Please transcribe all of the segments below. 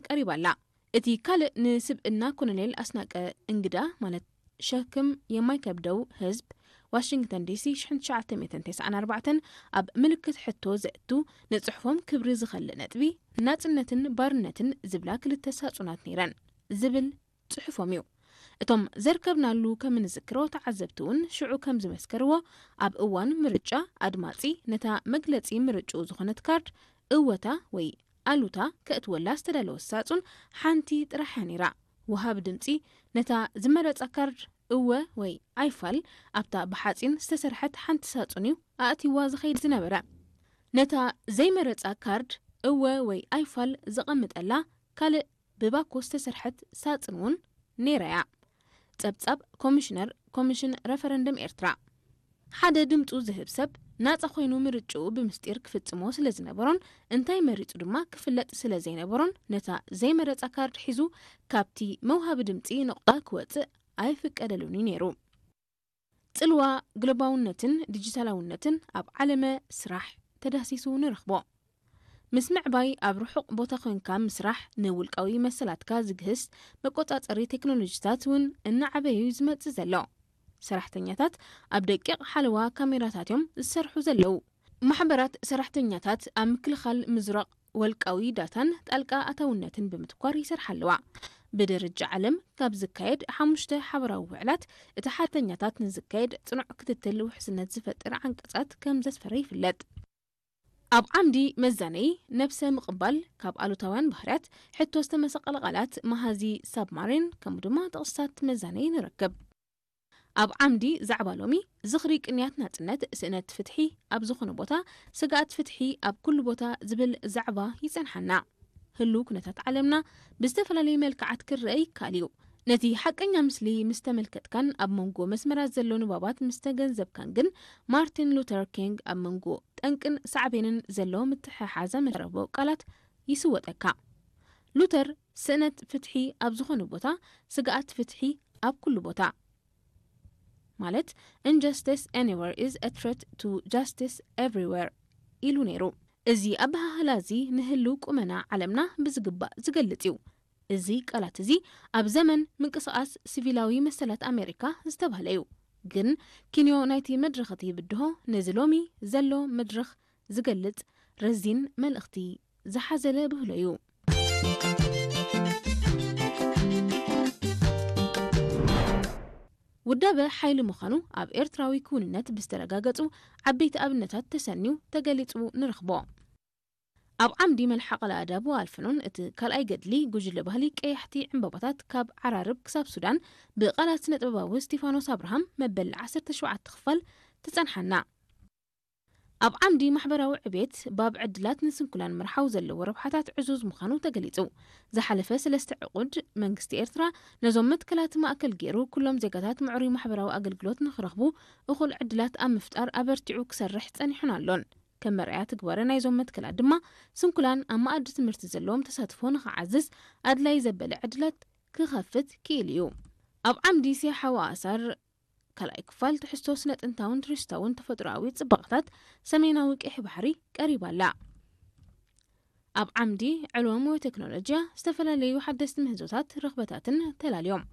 ቀሪባ ኣላ። እቲ ካልእ ንስብእና ኮሎኔል ኣስናቀ እንግዳ ማለት ሸክም የማይከብደው ህዝብ ዋሽንግተን ዲሲ ሽሕን ትሽዓተ ሚእትን ተስዓን ኣርባዕተን ኣብ ምልክት ሕቶ ዘእቱ ንጽሑፎም ክብሪ ዝኸልእ ነጥቢ ናጽነትን ባርነትን ዝብላ ክልተ ሳጹናት ነይረን ዝብል ጽሑፎም እዩ። እቶም ዘርከብናሉ ከም እንዝክሮ ተዓዘብቲ እውን ሽዑ ከም ዝመስከርዎ ኣብ እዋን ምርጫ ኣድማጺ ነታ መግለጺ ምርጭኡ ዝኾነት ካርድ እወታ ወይ ኣሉታ ከእትወላ ዝተዳለወት ሳጹን ሓንቲ ጥራሕ እያ ነይራ። ወሃቢ ድምጺ ነታ ዝመረጻ ካርድ እወ ወይ ኣይፋል ኣብታ ብሓጺን ዝተሰርሐት ሓንቲ ሳጹን እዩ ኣእቲዋ ዝኸይድ ዝነበረ። ነታ ዘይመረጻ ካርድ እወ ወይ ኣይፋል ዘቐምጠላ ካልእ ብባኮ ዝተሰርሐት ሳጽን እውን ነይራ እያ። ጸብጻብ ኮሚሽነር ኮሚሽን ረፈረንደም ኤርትራ። ሓደ ድምጹ ዝህብ ሰብ ናጻ ኮይኑ ምርጭኡ ብምስጢር ክፍጽሞ ስለ ዝነበሮን እንታይ መሪጹ ድማ ክፍለጥ ስለ ዘይነበሮን ነታ ዘይመረጻ ካርድ ሒዙ ካብቲ መውሃቢ ድምጺ ነቑጣ ክወጽእ ኣይፍቀደሉን እዩ ነይሩ። ጽልዋ ግሎባውነትን ዲጂታላውነትን ኣብ ዓለመ ስራሕ ተዳህሲሱ ንረኽቦ። ምስ ምዕባይ ኣብ ርሑቕ ቦታ ኮንካ ምስራሕ ንውልቃዊ መሰላትካ ዝግህስ መቆጻጸሪ ቴክኖሎጂታት እውን እናዓበዩ ዝመጽእ ዘሎ። ሰራሕተኛታት ኣብ ደቂቕ ሓለዋ ካሜራታት እዮም ዝሰርሑ ዘለዉ። ማሕበራት ሰራሕተኛታት ኣብ ምክልኻል ምዝራቕ ወልቃዊ ዳታን ጣልቃ ኣታውነትን ብምትኳር ይሰርሓ ኣለዋ። ብደረጃ ዓለም ካብ ዝካየድ ሓሙሽተ ሓበራዊ ውዕላት እቲ ሓተኛታት ንዝካየድ ጽኑዕ ክትትል ውሕስነት ዝፈጥር ዓንቀጻት ከም ዘስፈረ ይፍለጥ። ኣብ ዓምዲ መዛነይ ነብሰ ምቕባል ካብ ኣሉታውያን ባህርያት ሕቶ ዝተመሰቐለ ቃላት መሃዚ ሳብማሪን ከምኡ ድማ ጥቕስታት መዛነይ ንረክብ። ኣብ ዓምዲ ዛዕባ ሎሚ ዝኽሪ ቅንያት ናጽነት ስእነት ፍትሒ ኣብ ዝኾነ ቦታ ስግኣት ፍትሒ ኣብ ኩሉ ቦታ ዝብል ዛዕባ ይጸንሓና። ህሉ ኩነታት ዓለምና ብዝተፈላለየ መልክዓት ክረአ ይከኣል እዩ። ነቲ ሓቀኛ ምስሊ ምስ ተመልከትካን ኣብ መንጎ መስመራት ዘሎ ንባባት ምስ ተገንዘብካን ግን ማርቲን ሉተር ኪንግ ኣብ መንጎ ጠንቅን ሳዕቤንን ዘሎ ምትሕሓዘ መረቦ ቃላት ይስወጠካ። ሉተር ስእነት ፍትሒ ኣብ ዝኾነ ቦታ ስግኣት ፍትሒ ኣብ ኩሉ ቦታ ማለት injustice anywhere is a threat to justice everywhere ኢሉ ነይሩ። እዚ ኣበሃህላ እዚ ንህልው ቁመና ዓለምና ብዝግባእ ዝገልጽ እዩ። እዚ ቃላት እዚ ኣብ ዘመን ምንቅስቓስ ሲቪላዊ መሰላት ኣሜሪካ ዝተባህለ እዩ። ግን ኪንዮ ናይቲ መድረኽ እቲ ብድሆ ነዚ ሎሚ ዘሎ መድረኽ ዝገልጽ ረዚን መልእኽቲ ዝሓዘለ ብህሎ እዩ። ውዳበ ሓይሊ ምዃኑ ኣብ ኤርትራዊ ክውንነት ብዝተረጋገጹ ዓበይቲ ኣብነታት ተሰንዩ ተገሊጹ ንረኽቦ። ኣብ ዓምዲ መልሓቕ ለኣዳቡ ኣልፈኖን እቲ ካልኣይ ገድሊ ጉጅለ ባህሊ ቀያሕቲ ዕምባባታት ካብ ዓራርብ ክሳብ ሱዳን ብቓላት ስነ ጥበባዊ ስቲፋኖስ ኣብርሃም መበል ዓሰርተ ሸውዓተ ክፋል ትጸንሓና። ኣብ ዓምዲ ማሕበራዊ ዕቤት ባብ ዕድላት ንስንኩላን ምርሓው ዘለዎ ረብሓታት ዕዙዝ ምዃኑ ተገሊጹ። ዝሓለፈ ሰለስተ ዕቑድ መንግስቲ ኤርትራ ነዞም መትከላት ማእከል ገይሩ ኩሎም ዜጋታት ምዕሩይ ማሕበራዊ ኣገልግሎት ንኽረኽቡ እኹል ዕድላት ኣብ ምፍጣር ኣበርቲዑ ክሰርሕ ጸኒሑን ኣሎን። ከም መርኣያ ትግባረ ናይዞም መትከላት ድማ ስንኩላን ኣብ መኣዲ ትምህርቲ ዘለዎም ተሳትፎ ንኽዓዝዝ ኣድላይ ዘበለ ዕድላት ክኸፍት ክኢሉ እዩ። ኣብ ዓምዲ ሴሓዊ ኣሳር ካልኣይ ክፋል ትሕዝቶ ስነ ጥንታውን ቱሪስታውን ተፈጥሮኣዊ ጽባቐታት ሰሜናዊ ቀይሕ ባሕሪ ቀሪባ ኣላ። ኣብ ዓምዲ ዕልዎም ወይ ቴክኖሎጂያ ዝተፈላለዩ ሓደስቲ ምህዞታት ርኽበታትን ተላልዮም።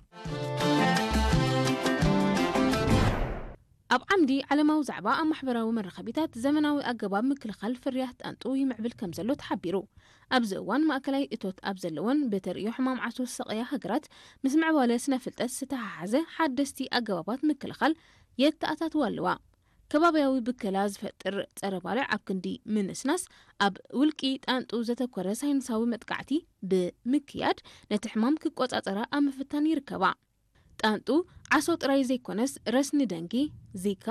ኣብ ዓምዲ ዓለማዊ ዛዕባ ኣብ ማሕበራዊ መራኸቢታት ዘመናዊ ኣገባብ ምክልኻል ፍርያት ጣንጡ ይምዕብል ከም ዘሎ ተሓቢሩ። ኣብዚ እዋን ማእከላይ እቶት ኣብ ዘለወን ብተርእዮ ሕማም ዓሶ ዝሰቐያ ሃገራት ምስ ምዕባለ ስነ ፍልጠት ዝተሓሓዘ ሓደስቲ ኣገባባት ምክልኻል የተኣታትዋ ኣለዋ። ከባብያዊ ብከላ ዝፈጥር ጸረ ባልዕ ኣብ ክንዲ ምንስናስ ኣብ ውልቂ ጣንጡ ዘተኮረ ሳይንሳዊ መጥቃዕቲ ብምክያድ ነቲ ሕማም ክቆጻጸራ ኣብ ምፍታን ይርከባ። ጣንጡ ዓሶ ጥራይ ዘይኮነስ ረስኒ ደንጊ፣ ዚካ፣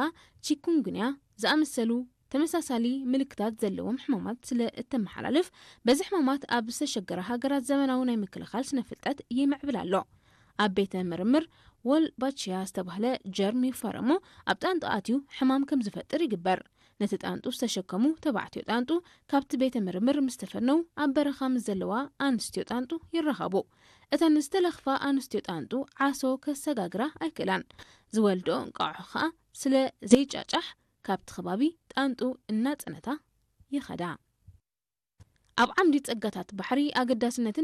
ቺኩንጉንያ ዝኣመሰሉ ተመሳሳሊ ምልክታት ዘለዎም ሕማማት ስለ እተመሓላልፍ በዚ ሕማማት ኣብ ዝተሸገራ ሃገራት ዘመናዊ ናይ ምክልኻል ስነ ፍልጠት ይምዕብል ኣሎ። ኣብ ቤተ ምርምር ወልባቺያ ዝተባህለ ጀርም ይፋረሞ ኣብ ጣንጡ ኣትዩ ሕማም ከም ዝፈጥር ይግበር። ነቲ ጣንጡ ዝተሸከሙ ተባዕትዮ ጣንጡ ካብቲ ቤተ ምርምር ምስ ተፈነው ኣብ በረኻ ምስ ዘለዋ ኣንስትዮ ጣንጡ ይራኸቡ። እተን ዝተለኽፋ ኣንስትዮ ጣንጡ ዓሶ ከሰጋግራ ኣይክእላን። ዝወልድኦ እንቋቑሖ ኸኣ ስለ ዘይጫጫሕ ካብቲ ከባቢ ጣንጡ እናጸነታ ይኸዳ። ኣብ ዓምዲ ጸጋታት ባሕሪ ኣገዳስነትን